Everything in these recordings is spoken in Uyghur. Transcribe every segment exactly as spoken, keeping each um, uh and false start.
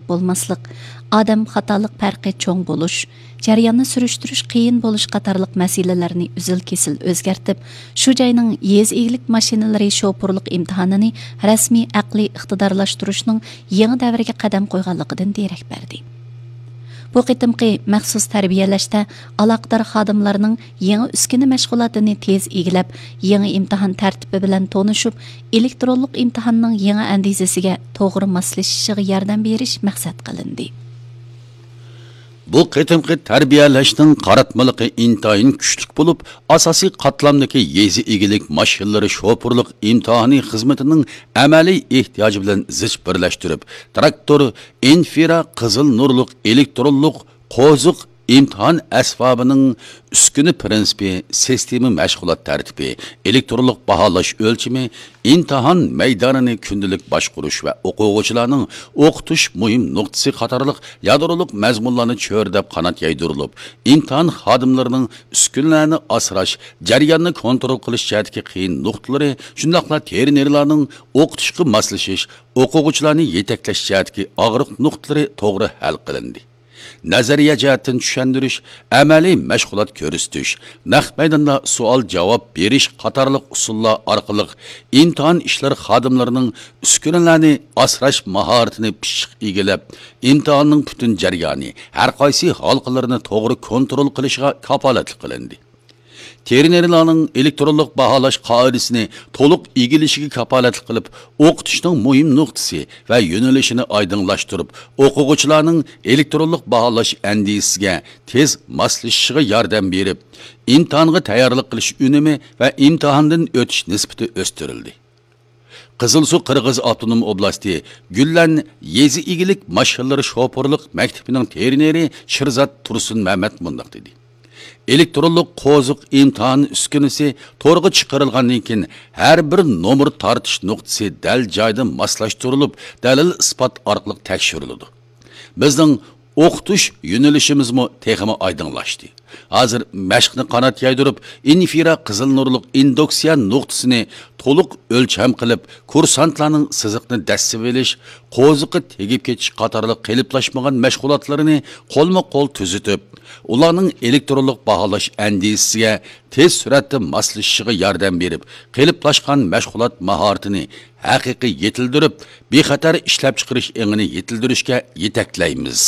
بولماسلىق، ئادەم خاتالىق پەرقى چوڭ بولۇش، جەرياننى سۈرۈشتۈرۈش قىيىن بولۇش قاتارلىق مەسىلىلەرنى ئۈزۈل-كېسىل ئۆزگەرتىپ، شۇ جاينىڭ يېزا ئىگىلىك ماشىنىلىرى شوپۇرلۇق ئىمتىھانىنى رەسمىي ئەقلىي ئىقتىدارلاشتۇرۇشنىڭ يېڭى دەۋرگە قەدەم قويغانلىقىدىن دېرەك بەردى. بۇ قېتىمقى مەخسۇس تەربىيەلەشتە ئالاقىدار خادىملارنىڭ يېڭى ئۈسكۈنە مەشغۇلاتىنى تېز ئىگىلەپ، يېڭى ئىمتىھان تەرتىپى بىلەن تونۇشۇپ، ئېلېكترونلۇق ئىمتىھاننىڭ يېڭى ئەندىزىسىگە توغرا ماسلىشىشىغا ياردەم بېرىش مەقسەت قىلىندى. بۇ قېتىمقى تەربىيەلەشنىڭ قاراتمىلىقى ئىنتايىن كۈچلۈك بولۇپ، ئاساسىي قاتلامدىكى يېزا ئىگىلىك ماشىنىلىرى شوپۇرلۇق ئىمتىھانى خىزمىتىنىڭ ئەمەلىي ئېھتىياجى بىلەن زىچ بىرلەشتۈرۈپ، تىراكتور، ئىنفرا قىزىل نۇرلۇق ئېلېكترونلۇق قوزۇق ئىمتىھان ئەسۋابىنىڭ ئۈسكۈنە پىرىنسىپى، سىستېما مەشغۇلات تەرتىپى، ئېلېكترونلۇق باھالاش ئۆلچىمى، ئىمتىھان مەيدانىنى كۈندىلىك باشقۇرۇش ۋە ئوقۇغۇچىلارنىڭ ئوقۇتۇش مۇھىم نۇقتىسى قاتارلىق يادرولۇق مەزمۇنلارنى چۆرىدەپ قانات يايدۇرۇلۇپ، ئىمتىھان خادىملىرىنىڭ ئۈسكۈنىلەرنى ئاسراش، جەرياننى كونترول قىلىش جەھەتتىكى قىيىن نۇقتىلىرى، شۇنداقلا تېرىنېرلارنىڭ ئوقۇتۇشقا ماسلىشىش، ئوقۇغۇچىلارنى يېتەكلەش جەھەتتىكى ئاغرىق نۇقتىلىرى توغرا ھەل قىلىندى. نەزەرىيە جەھەتتىن چۈشەندۈرۈش، ئەمەلىي مەشغۇلات كۆرسىتىش، نەق مەيداندا سوئال-جاۋاب بېرىش قاتارلىق ئۇسۇللار ئارقىلىق ئىمتىھان ئىشلىرى خادىملىرىنىڭ ئۈسكۈنىلەرنى ئاسراش ماھارىتىنى پىششىق ئىگىلەپ، ئىمتىھاننىڭ پۈتۈن جەريانى، ھەر قايسى ھالقىلىرىنى توغرا كونترول قىلىشىغا كاپالەتلىك قىلىندى. تېرىنېرلارنىڭ ئېلېكترونلۇق باھالاش قائىدىسىنى تولۇق ئىگىلىشىگە كاپالەتلىك قىلىپ، ئوقۇتۇشنىڭ مۇھىم نۇقتىسى ۋە يۆنىلىشىنى ئايدىڭلاشتۇرۇپ، ئوقۇغۇچىلارنىڭ ئېلېكترونلۇق باھالاش ئەندىزىسىگە تېز ماسلىشىشىغا ياردەم بېرىپ، ئىمتىھانغا تەييارلىق قىلىش ئۈنۈمى ۋە ئىمتىھاندىن ئۆتۈش نىسبىتى ئۆستۈرۈلدى. قىزىلسۇ قىرغىز ئاپتونوم ئوبلاستى گۈللەن يېزا ئىگىلىك ماشىنىلىرى شوپۇرلۇق مەكتىپىنىڭ تېرىنېرى شىرزات تۇرسۇنمەمەت مۇنداق دېدى: ئېلېكترونلۇق قوزۇق ئىمتىھان ئۈسكۈنىسى تورغا چىقىرىلغاندىن كېيىن، ھەر بىر نومۇر تارتىش نۇقتىسى دەل جايىدا ماسلاشتۇرۇلۇپ، دەلىل-ئىسپات ئارقىلىق تەكشۈرۈلىدۇ. بىزنىڭ ئوقۇتۇش يۆنىلىشىمىزمۇ تېخىمۇ ئايدىڭلاشتى. ھازىر مەشىقنى قانات يايدۇرۇپ، ئىنفرا قىزىل نۇرلۇق ئىندۇكسىيە نۇقتىسىنى تولۇق ئۆلچەم قىلىپ، كۇرسانتلارنىڭ سىزىقنى دەسسىۋېلىش، قوزۇقى تېگىپ كېتىش قاتارلىق قېلىپلاشمىغان مەشغۇلاتلىرىنى قولمۇ قول تۈزىتىپ، ئۇلارنىڭ ئېلېكترونلۇق باھالاش ئەندىزىسىگە تېز سۈرئەتتە ماسلىشىشىغا ياردەم بېرىپ، قېلىپلاشقان مەشغۇلات ماھارىتىنى ھەقىقىي يېتىلدۈرۈپ، بىخەتەر ئىشلەپچىقىرىش ئېڭىنى يېتىلدۈرۈشكە يېتەكلەيمىز.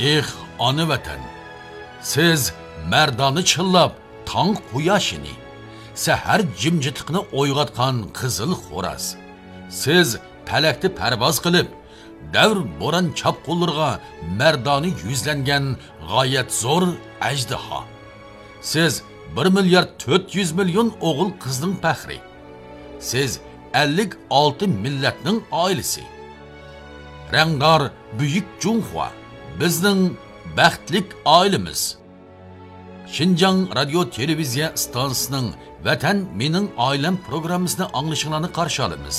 ئېھ، ئانا ۋەتەن! سىز مەردانە چىللاپ، تاڭ قۇياشىنى، سەھەر جىمجىتلىقىنى ئويغاتقان قىزىل خوراز. سىز پەلەكتە پەرۋاز قىلىپ، دەۋر بوران چاپقۇنلىرىغا مەردانە يۈزلەنگەن غايەت زور ئەجدىھا. سىز بىر مىليارد تۆت يۈز مىليون ئوغۇل قىزنىڭ پەخرى. سىز ئەللىك ئالتە مىللەتنىڭ ئائىلىسى. رەڭدار بۈيۈك جۇڭخۇا، بىزنىڭ بەختلىك ئائىلىمىز. شىنجاڭ رادىيو تېلېۋىزىيە ئىستانسىسىنىڭ ۋەتەن مېنىڭ ئائىلەم پروگراممىسىنى ئاڭلىشىڭلارنى قارشى ئالىمىز.